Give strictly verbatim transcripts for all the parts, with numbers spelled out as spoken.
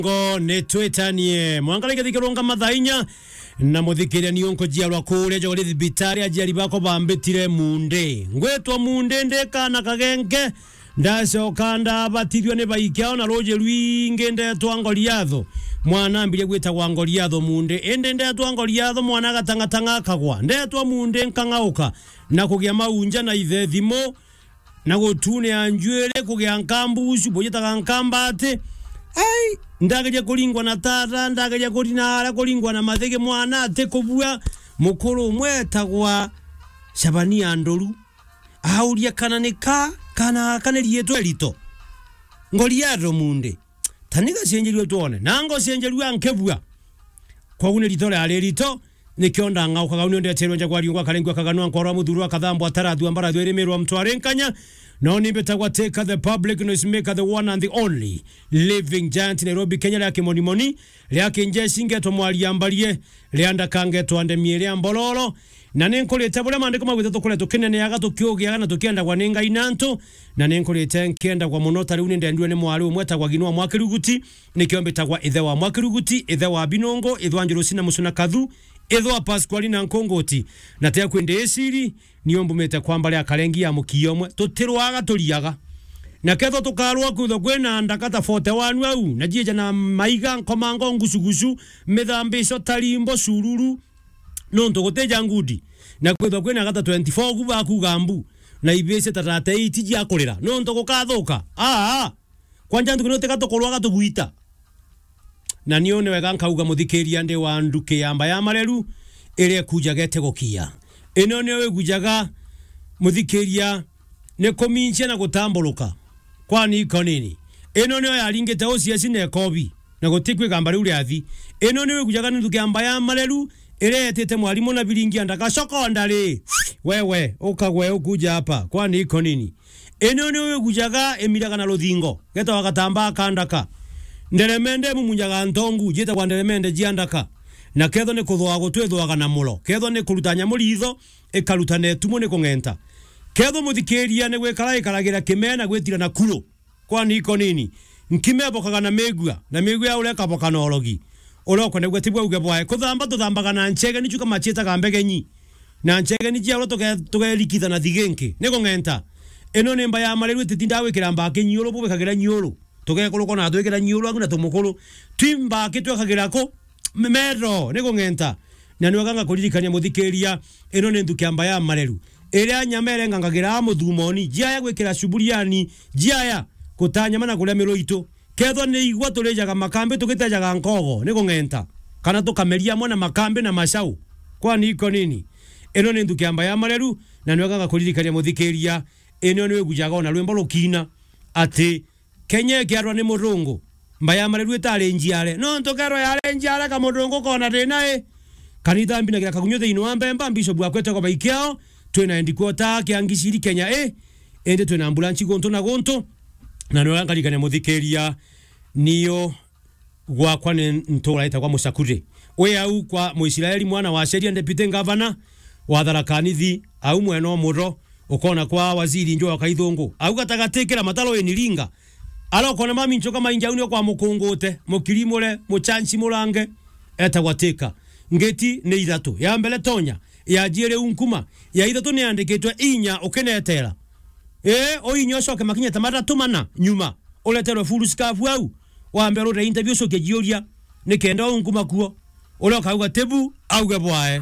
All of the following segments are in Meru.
Ngo ni twitanie. Mwanka reke thikirunga mathaa inya, na muthikiria ni unkujiarwa kuria jogori thibitari, ajiari bakwa bambitire Munde. Ngwitwa Munde, ndi kaana kagenge, ndacoka ndabatithua ni baikiao na ruuji rwingi, ndetwa Ngoriatho. Mwana ambirie gwitagwa Ngoriatho Munde. Indi ndetwa Ngoriatho, mwana agatang'atang'a akagwa. Ndetwa Munde, nkang'auka na kugia maunja na ithe thimu, na gutunia njuiri, kugia nkambucu, bujitaga nkambati. Ai, ndageria kuringwa na tata, ndageria kurina aria kuringwa na mathigi, mwana ati kubua. Mukuru umwe etagwa Shabania Ndoru, auria kana ni ka, kana, kana riitwa rito. Ngoriatho Munde. Tani gacenjerua twone. Na ngocenjerua nkebua. Kwou ni rito riari rito, nikio ndang'aukaga. Uni undeterwe njagwa riungwa, karengwa kaganwa, nkorwa muthurwa, kathambwa, tarathua, mbarathua, irimirwa, mtware nkanya. No ni mbitagwa Teka the public noise maker, the one and the only living giant Nairobi, Kenya, ria kimonimoni, ria kinjeci ngetwa mwaria mbarie, ria ndaka ngetwa ndemie, ria mbororo. Na ni nkurite buria maandiko maugite, tukure tukineneaga, tukiugiaga na tukiendagwa ni Ngai na antu. Na ni nkurite nkiendagwa mono. Ta riu ni ndendue ni mwari umwe etagwa Ginwa Mwakiruguti, nikio mbitagwa ithe wa Mwakiruguti, ithe wa Binungu, ithe wa Njurusi na Mucuna Kathu, ithe wa Pasquali na Nkunguti. Na tia kwi ndiiciri, nio mbumite kwa mbari ya Karengi ya mukiia umwe. Tutirwaga, turiaga. Na kethwa tukarwa kwithwa kwina ndaka ta forty one au, na jieja na maiga, nkomango, ngucugucu, mithambico, tarimbo, cururu, nontu gutija ngudi, na kwithwa kwina gata twenty-four ku bakuga mbu, na ibisi ta thirty-eight jia kurira, nontu gukathuka. Aa! Kwanja ntuku ni utiga tukurwaga tugwita. Na niu ni wega nkauga, muthikiria, ndi wa nduki ya mba ya mareru iria ikujaga itegukia. Ino niyo igujaga, muthikiria, ni kuminchia na gutamburuka. Kwani iko nini? Ino niyo yaringite uciaci na ikobi, na gutikwigamba riu riathi. Ino niyo igujaga ni nduki ya mba ya mareru iria yetite mwarimu na biringi ya ndaka, secondary. Wewe, ukagwe ukuja hapa. Kwani iko nini? Ino ni wigujaga imiraga na ruthingo, getagwa gatambaa ka ndaka. Nderemende imumunyaga ntongu, jiitagwa nderemende jia ndaka. Na kethwa ni kuthwa gutwithwaga na muro, kethwa ni kuruta nyamu riitho, ikaruta na itumu ni kung'enta. Kethwa muthikiria ni gwikara ikaragira kimee na gwitira na kuru. Kwani iko nini? Nkima ibokaga na migua, na migua ya uria ikaboka na urogi. Uria ukwenda gwita bwa uge bwae. Kuthamba tuthambaga na nchege, nicio kama ciitaga mbegenyi. Na nchege ni cia uria tuge-, tugerikitha na thiginki. Ni kung'enta. Ino ni mba ya mareru, ititindaga gwikira mbaki nyiuru, bubikagira nyiuru. Tugekurukwa na twikira nyiuru, angu na tumukuru. Twi mbaki twekagira ku? M-, metho, ni kung'enta. Na ni wega ngakuririkania muthikiria, ino ni nthuki ya mba ya mareru. Iria nyama irengangagira muthumoni, jiaya gwikira cuburiani, jiaya gutaa nyama na kuria miru itu. Kethwa ni igwa turijaga makambi tugitejaga nkogo, ni kung'enta. Kana tukameria amwe na makambi na macau. Kwani iko nini? Ino ni nthuki ya mba ya mareru, na ni wega ngakuririkania muthikiria, ino ni wigujaga ona rwimbo rukiina ati, Kenya ikiarwa ni murungu, mba ya mareru itari njiare. Nontu kerwa yari njiare, ka murungu kona thina i. Kanitha mbinagira kagunyo thiini wa Mbemba, Bishop akwetagwa Baikiao, twina headquarter kia Ngiciri Kenya i, indi twina ambulance guntu na guntu. Na ni wega nkarikania muthikiria, niyo gwakwa ni ntura itagwa Mucakuri. Wi au kwa Muisraeli mwana wa Sheria, deputy governor wa Tharaka Nithi, au mwena umuro, ukona kwa waziri Njua Kaithungu. Au gatagati kira mataro ini ringa. Ara ukona mami nchoka maingi au ni kwa mukungute, mukirimure, muchanchi murange, etagwa Teka. Ngeti ni ithatu. Ya mbere tonya, ya jiiri unkuma, ya ithatu ni yandikitwe inya ukinetera. Ee, uinya ucoke makinya ta mathatu mana nyuma, ureterwe full scarf au, wambe urute interview ucokie jiuria, ni kenda unkuma kuo. Uria ukauga tibu, auge bwae.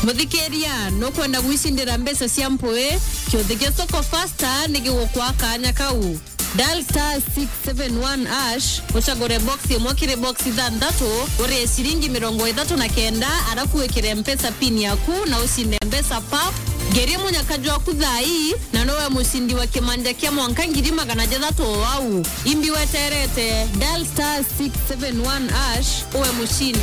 Muthikiria, nukwenda gwicindira mbeca cia mpui? Kiuthi gia Soko Faster ni gigukwa kanya kau. Dial star six seven one hash, ucagure box imwe kiri box ithanthatu, urie ciringi mirongo ithatu na kenda, arafu wikire Mpesa pin yaku na ucinde mbeca pap. Ngeria munyaka jwaku thaa ii, na nowe mucindi wa kimanja kia mwanka ngiri magana jathatu o au. Imbi weterete, dial star six seven one hash, uwe mucindi.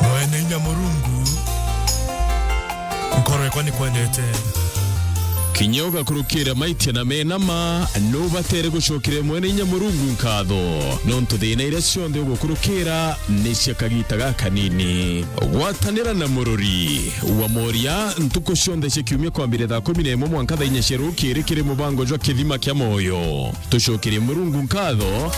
Mwene inya Murungu, nkoro yakwa nikwendete. Kinya ugakurukira maitia na mena ma, nubatere gucokeria mwene inya Murungu nkatho, nontu thina iria cionthe ugukurukira ni cia kagita gakanini. Gwatanira na murori wa moria ntuku cionthe cia kiumia kwambire thaa kumi na imwe mwanka thaa inya cia rukiri kiri mubango jwa Kithima kia Moyo. Tucokerie Murungu nkatho,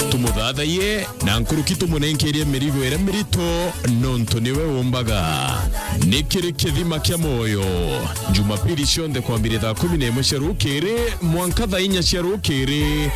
tumuthathaiye, na nkuruki tumunenkerie mirigo iria mirito, nontu niwe umbaga. Ni kiri Kithima kia Moyo, Jumapili cionthe kwambire thaa kumi na imwe cia rukiri mwanka thaa inya cia rukiri.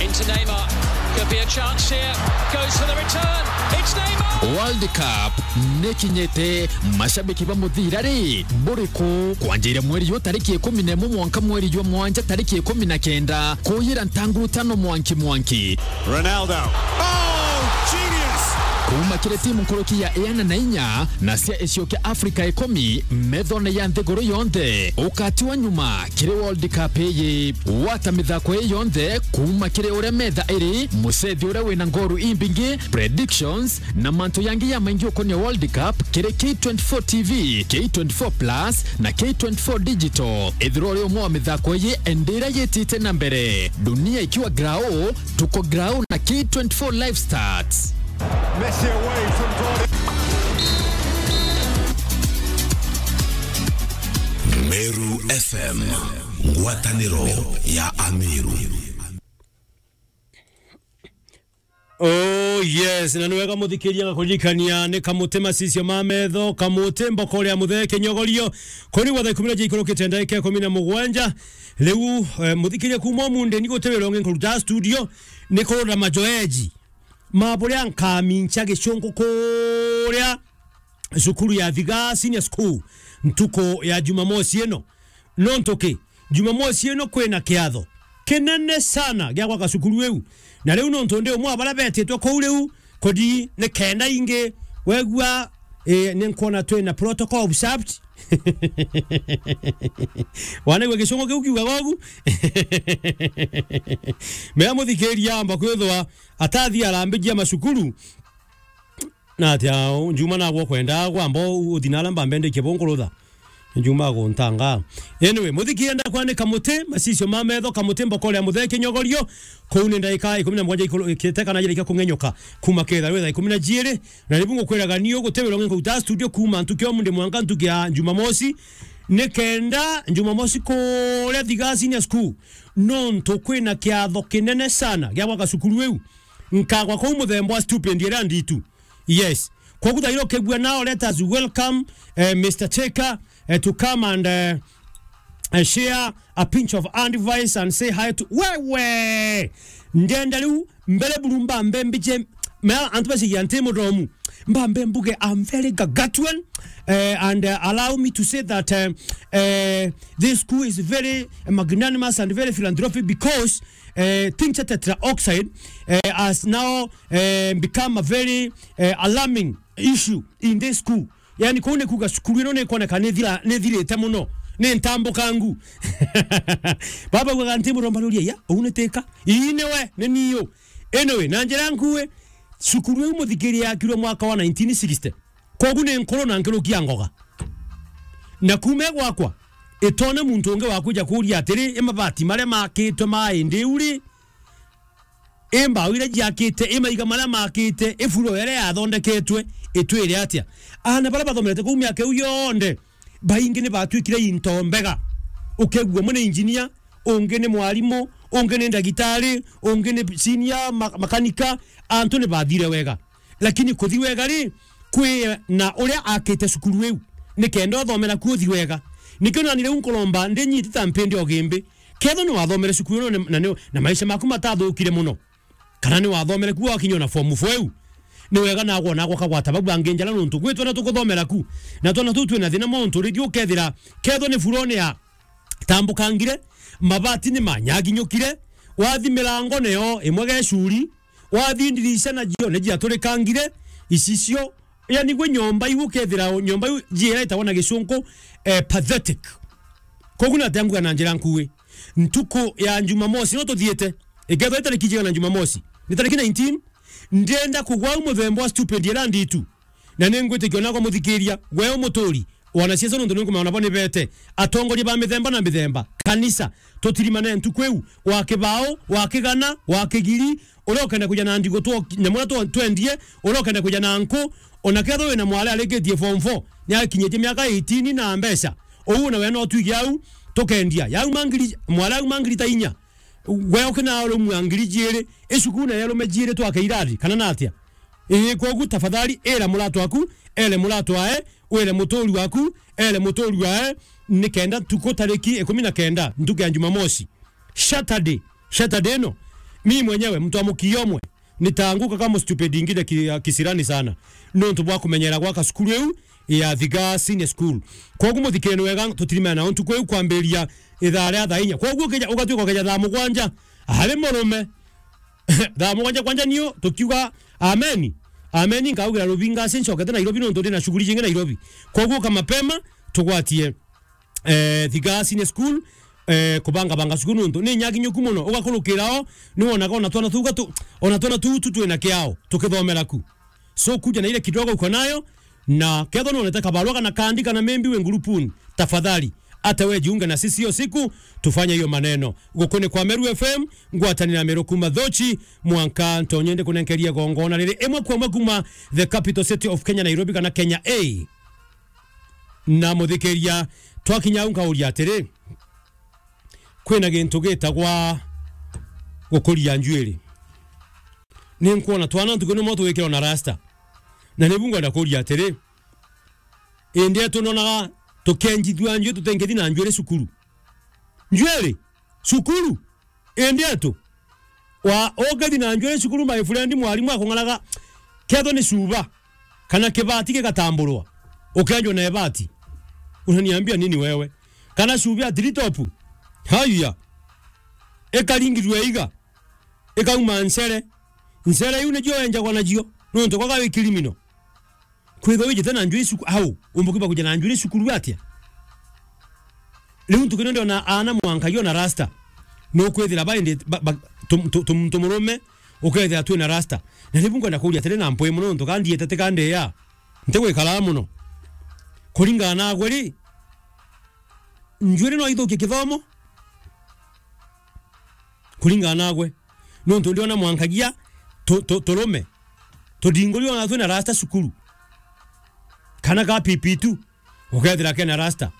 Into Neymar. Could be a chance here. Goes for the return. It's Neymar. World Cup nikinyite, mashabiki ba muthira ri, buriku? Kwanjira mweri yu tariki ikumi na imwe mwanka mweri jwa mwanja tariki ikumi na kenda, kuyira ntanguru tano mwanki mwanki. Ronaldo. Oh, genius! Kuuma kiri timu nkuruki ya iana na inya na cia icio kia Afrika ikumi methone ya nthiguru yonthe, ukatiwa nyuma kiri World Cup iyi. Wata mithako ii yonthe kuuma kiri uria metha iri, mucethi uria wina ngoru imbingi, predictions, na mantu yangi ya maingi ukonia World Cup kiri K twenty-four T V, K twenty-four Plus, na K twenty-four Digital. Ithirwa uri umwe wa mithako iyi, indi iria yitite na mbere. Dunia ikiwa grau, tuko grau na K twenty-four Live Stats. Messi away from goal. Meru F M, ngwataniro ya Ameru. Oh yes, na ni wega muthikiria ngakuririkania ni Kamuti macicio ma metho, Kamuti mbokore ya muthee kinyogorio. Kuri gwa thaa ikumi na ijiri ikurukite ndagika ikumi na mugwanja. Riu, eh, muthikiria kuuma umunthi ni guti wira ungi nkuruta studio, ni kurura majoeji ma buria nkamincha gicungu kuria cukuru ya Thiga Senior School ntuku ya Jumamosi ino. Nontu ki? Jumamosi ino kwina kiatho kinene sana gia gwaka cukuru iu. Na riu nontu ndi umwe wa baria betitwe kuu riu, kodi ni kenda ingi wegua, eh, ni nkwona twina protocol observed. Wanaigua gicungu kiu kiugaga ugu? Mea muthikiria amba kwithwa atathi arambijia macukuru. Na atia, njuma nagwo kwenda gwamba uthi na ala mbambendekie bunkurutha. Njuma guntanga. Anyway, muthikiria ndakwa ni Kamuti, macicio ma metho, Kamuti mbokore ya muthee kinyogorio. Kuu ni ndagika ikumi na mugwanja ikuru-, ikite kana jira ikakung'enyuka. Kuuma ketha rwitha ikumi na jiri, na ribu ngukwiraga ni uguti wira ungi nkuruta studio kuuma ntuki ya umunthi mwanka ntuki ya Jumamosi. Ni kenda Jumamosi kuria Thiga Senior School, nontu kwina kiatho kinene sana gia gwaka cukuru iu. Nkagwa kuu muthemba wa stupid iria nditu. Yes. Kwogu thaira ukigua now, let us welcome, eh, Mister Cheka, eh, to come and, eh, eh, share a pinch of advice and say hi to wewe. Ndenda riu mbere buru mbambe mbije, mea antu bacigia nti mudomu. Mbambe mbuge, I'm very gargantuan, eh, and, eh, allow me to say that, eh, eh, this school is very magnanimous and very philanthropic because, eh, tincture tetraoxide, eh, has now, eh, become a very, eh, alarming issue in this school. Yani, kuu ni kuuga cukuru ino ni ikwoneka ni thira-, ni thirite muno, ni ntambukangu. Baba ugaga nti muromba ruria, ya, uu ni tika? Ii ni we, ni niu. Anyway, na njira nkui, cukuru iu muthikiria yakirwe mwaka wa nineteen sixty. Kwogu ni nkuru na nkuruki ya ngoga. Na kuuma gwakwa, itone muntu ungi wa kuja kuria atiri, i mabati maria makitwe ma indi iu ri, i mbao iria jiakite, i maiga maria makite, i floor iria yathondeketwe, itwire atia? Aana baria bathomerete kuu miaka iu yonthe, baingi ni batwikire into mbega. Ukegua umwe ni engineer, ungi ni mwarimu, ungi ni ndagitari, ungi ni senior ma-, makanika, antu ni bathire wega. Lakini kuthi wega ri, kwi na uria akite cukuru iu, ni kenda uthomera kuo uthi wega. Nikio nani riu nkuromba, ndi nyiti ta mpindi o gimbi. Ketho ni wathomere cukuru ino na, na, na maisha maku matathukire muno, kana ni wathomere kuo wakinya na form four iu, ni wega nagwo nagwo kagwata bau bangi njara nontu gwi twana tukuthomera ku, na twana tuu twina thina muntu ringi ukethira ketho ni furone ya tambukangire, mabati ni manyaginyukire, wathi milango nayo imwe gecuri, wathi ndirisha najio ni jiaturikangire, icicio, yani gwe nyomba iu ukethira nyomba iu jiira itagwa na gicunku, eh, pathetic. Kogu nate anguga na njira nkui. Ntuku ya Jumamosi no tuthiite. Ikethwa itariki jigana Jumamosi? Ni tariki nineteen? Ndienda kugwa au muthemba wa stupid ira nditu. Na ningwitikia onagwa muthikiria, we umuturi, wanasiasa nontu ninkumenya nabo nibete, atongoria ba mithemba na mithemba, kanisa, tutirimane ntuku iu, wa kibao, wa kigana, wa kigiri, uria ukenda kuja na ndigu two-, nyamu iria twa-, twendie, uria ukenda kuja na nku, ona kethirwa wina mwari arikitie form four, ni akinyitie miaka eighteen na mbeca, uu nawe no twige au, tukendia. Yau mangiri, mwari au mangiri ta inya, we ukina rumwa ngiri jiiri, icukuru na yerume jiiri twake irari, kana natia? Ii, kwogu tafadhali, ira muratwa aku, ere muratwa ae, wire muturi waku, ere muturi wae, ni kenda ntuku tariki ikumi na kenda, ntuku ya Jumamosi. Saturday, Saturday ino, mi mwenyewe, mtu wa mukio omwe, nitaanguka kama stupid ingine ki-, ya kisirani sana. Nontu bwa kumenyera gwaka cukuru iu ya Thiga Senior School. Kwogu muthikireni wega, tutirimana nao ntuku iu kwambiria ithaa ria thaa inya. Kwogu ukija, ugatuika ukeja thaa mugwanja, ari murume. Thaa mugwanja kwanja nio tukiuga ameni. Ameni, nkaugira rubinga aci ncokete Nairobi nontu ndi na shughuli jingi Nairobi. Kwogu uka mapema, tugwatie, eh, Thiga Senior School, eh, kubangabanga cukuru nontu ni nyakinyoku muno. Ugakurukira o, ni wonaga ona twana tuga tu, ona twana tutu twina kiao, tukithomera ku. So kuja na ile kidogo uko nayo, na kethwa nonete kabarua kana kandi kana maybe we ngurupuni, tafadhali, hata we jiunge na sisi hiyo siku, tufanye hiyo maneno. Gukuni kwa Meru F M, ngwatanira Meru kuma Thochi, mwanka ntonye ndi kunenkeria gongona riri imwe kwa imwe kuma the capital city of Kenya, Nairobi, kana Kenya A. Na muthikiria, twakinya au nkauria atiri, kwina gintu gitagwa gukuria njuiri. Ni nkwona twana ntuku nimo twikirwa na rasta. Na nibu ngwenda kuria atiri, indi etu nonaga tukenjithua njuiri, tutengethi na njuiri cukuru. Njuiri? Cukuru? Indi etu? Wa, ukethi na njuiri cukuru, my friend, mwarimu akung'araga, kethwa ni cuba, kana kibati gigatamburwa, ukenjwa na ibati. Unaniambia nini wewe? Kana cuba ya tree top? Haya. Ikaringithua iga. Ikauma ncere. Ncere iu nicio enjagwa nacio. Nontu kwaga wi criminal. Kwithwa wijite na njuiri cuku-, au, umbukiba kuja na njuiri cukuru atia? Riu ntuku ino ndiona aana mwanka yo na rasta. Nukwithira baindi ba, ba, tum-, tu-, tum-, tumurume, ukethira twina rasta. Na riu nkwenda kuria atiri na mpwi muno nontu ka ndiete tika ndeya. Ntigwikara muno. Kuringana nagwe ri, njuiri no ithukie kithomo? Kuringana nagwe. Nontu ndiona mwankagia tu-, tu-, turume. Tudinguri ona twina rasta cukuru. Kana ka P P two, ukethira kena rasta.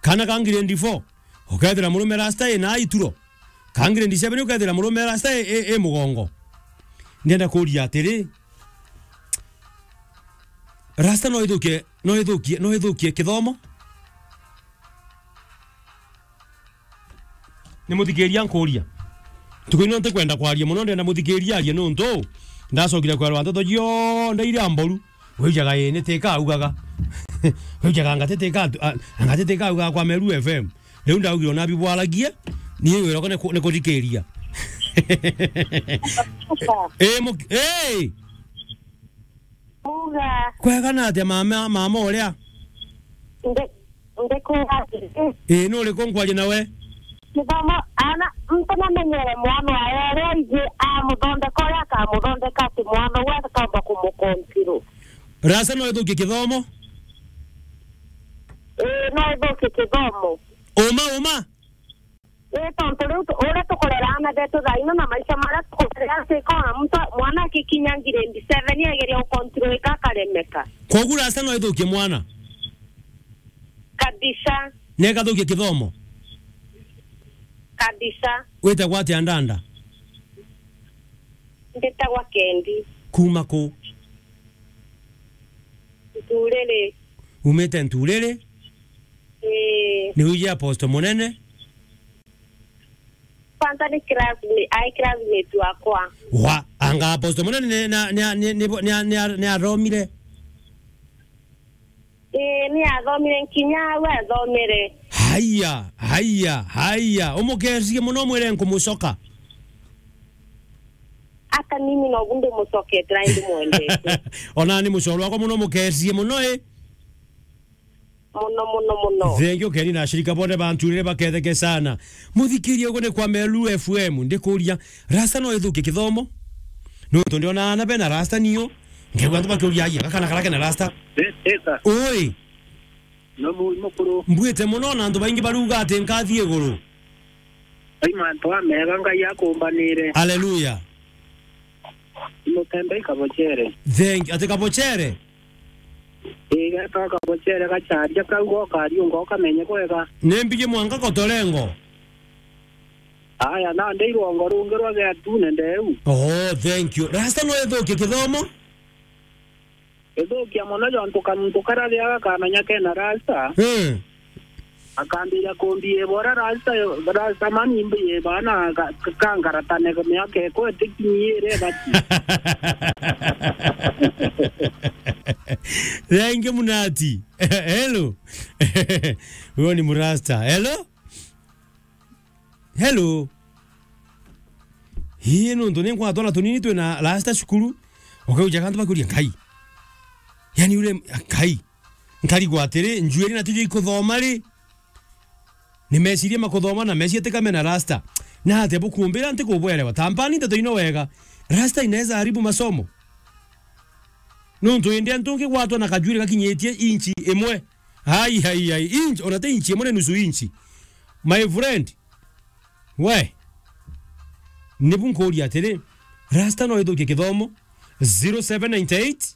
Kana ka grade four, ukethira murume rasta ina ituro. Ka grade seven, ukethira murume rasta e, e, e mugongo. Ndienda kuria atiri, rasta no ithukie, no ithukie, no ithukie kithomo? Ni muthikiria nkuria. Ntuku ino ntikwenda kwaria muno, ndenda muthikiria arie nontu ndacokire kwerwa nteto cionthe iria mboru. Wijaga ii ni tika augaga. Wijaga ngati tika atu-, a, ngati tika augaga kwa Meru F M. Riu ndaugire ona bibwaragie, ni wira ni ku-, ni kuthikiria. Ii, mu-, ii! Uga. Kwega na atia mama, mama uria? Ndi, ndikuga atiri. Ii, nuriku nkwaria nawe? Kithomo, ana, muntu namenyere mwana wae uria aiji amuthondeka uria akamuthondeka ati mwana uwe akamba kumukontrol. Rasta no ithukie kithomo? Ii, no ithukie kithomo. Uma, uma? Ii, tontu riu tu-, uria tukurera aana betu thaa ino na maisha maria tukurera, ati ikona muntu, mwana akikinya grade seven, egeria ukontrolika akaremeka. Kwogu rasta no ithukie mwana? Kabisa. Na ikathukia kithomo? Kabisa. Witagwa atia ndanda? Mbitagwa Kendi. Kuma ku? Nturiri. Umite Nturiri? Ii. Ni wiji Apostle Munene? Kwanza ni classmate, ai classmate wakwa. Wa, anga Apostle Munene ni, ni, ni athomire? Ii, ni athomire nkinya au athomire. Haya, haya, haya. Umukerie muno mwire nkumucoka. Ata mimi nobu ndimucokete na ndimwendete. Ona ni mucoro wakwa muno, mukerie muno, ii. Muno, muno, muno. Thengiu Keni na ashirika bonthe ba Nturiri baketheke sana. Muthikirie ugu ni kwa Meru F M. Ndikuria, rasta no ithukie kithomo? Nontu ndiona ana bena rasta nio. Nkaigua antu bakiuria, "Aye, gakana kara kena rasta?" Ita. Oi. No mu-, mukuru. Mbwite mono na antu baingi baruga ati nkathi iguru. Ai mantu amega Ngai akumbanire. Haleluya. Mutembe ikabochere. Thank you. Ati kabochere? Ii, geta kabochere gacharia kau gokariunga ukamenye bwega. Ni mbiji mwanka kotorengo. Aya, na ndeirwo ngo rungi rwa geatune ndeu. Oh, thank you. Rasta no ithukie kithomo? Ithukia mono jontu kamuntu karia riaga kamenya kena rasta. Eh. Akambira kumbi ibora rasta, rasta mani mbi ibana ka-, ka-, kangaratane miaka ikwe tikinyire bati. Thank you, Munati. Hello. Huyo ni Murasta. Hello? Hello. Hii nuntu ni nkwatwara tunini twina rasta cukuru. Ukauja kantu bakuria, "Nkai." Yani ule, "Nkai." Nkarigwa atiri, njuiri na tujo ikuthoma ri? Ni meciria makuthoma na meciria tikame na rasta. Na atia bukumbira nti kubwerewa? Tampani nteto ino wega. Rasta inaweza haribu masomo. Nuntu indi antu ngi gwatwa na kajuiri gakinyitie inchi imwe. Ai, ai, ai, inch, ona ti inch imwe, ni nusu inch. My friend, we, nibu nkuria atiri, rasta no ithukie kithomo? Zero seven nine eight,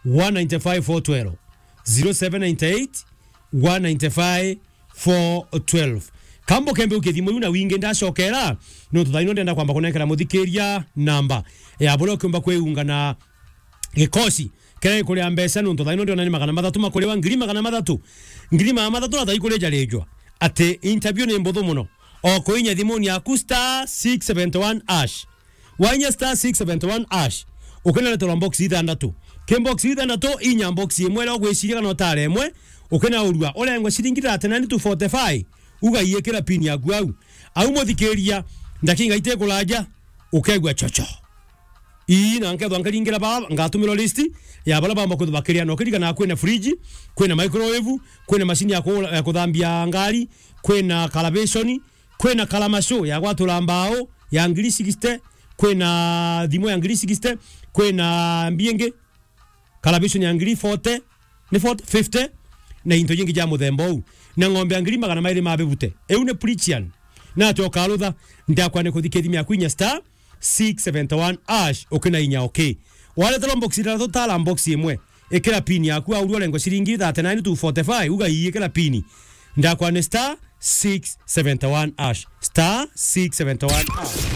one nine five, four twelve. Zero seven nine eight, one nine five, four twelve. Kambo kembe ukithimo iu na wingi ndacokera, nontu thaino ndenda kwamba kunengera muthikiria namba ya buria ukiumba kwiunga na gikosi kiria gikuria mbeca, nontu thaino ndiona ni magana mathatu makuriwa, ngiri magana mathatu. Ngiri magana mathatu na thaikurijaririjwa. Ati interview ni mbuthu mono. O kuinya thimuni yaku star six seventy one hash. Wainya star six seventy one hash. Ukinareterwa box ithanthatu. Ki box ithanthatu, inya box imwe iria ugwiciria kana utare imwe. Ukinaurua, urengwe ciringi thirty nine to forty five. Ugaiikira pin yaku au. Au muthikiria, ndakinga itikuraja, ukegua chocho. Ii, na nkethwa nkaringira baa, ngatumirwa list ya baria baamba kwithwa bakiria. Na ukirikana kwina fridge, kwina microwave, kwina macini ya ku-, ya kuthambia ngari, kwina kalabeshoni, kwina kalamaco ya gwatura mbao ya ngiri sixty, kwina thimu ya ngiri sixty, kwina mbi ingi, kalabishoni ya ngiri forty, ni forty, fifty, na into jingi ja muthemba uu, na ng'ombe ya ngiri magana mairi ma bibute. Iu ni Prichian. Na ati ukarutha, ndakwa ni kuthikithimia kwinya star six seventy one hash, ukina inya okay. Wareterwa box ithathatu, tara box imwe. Ikira pin yaku, au urengwa ciringi thirty nine to forty five, uga ii, ikira pin. Ndakwa ni star six seventy one hash. Star six seventy one hash.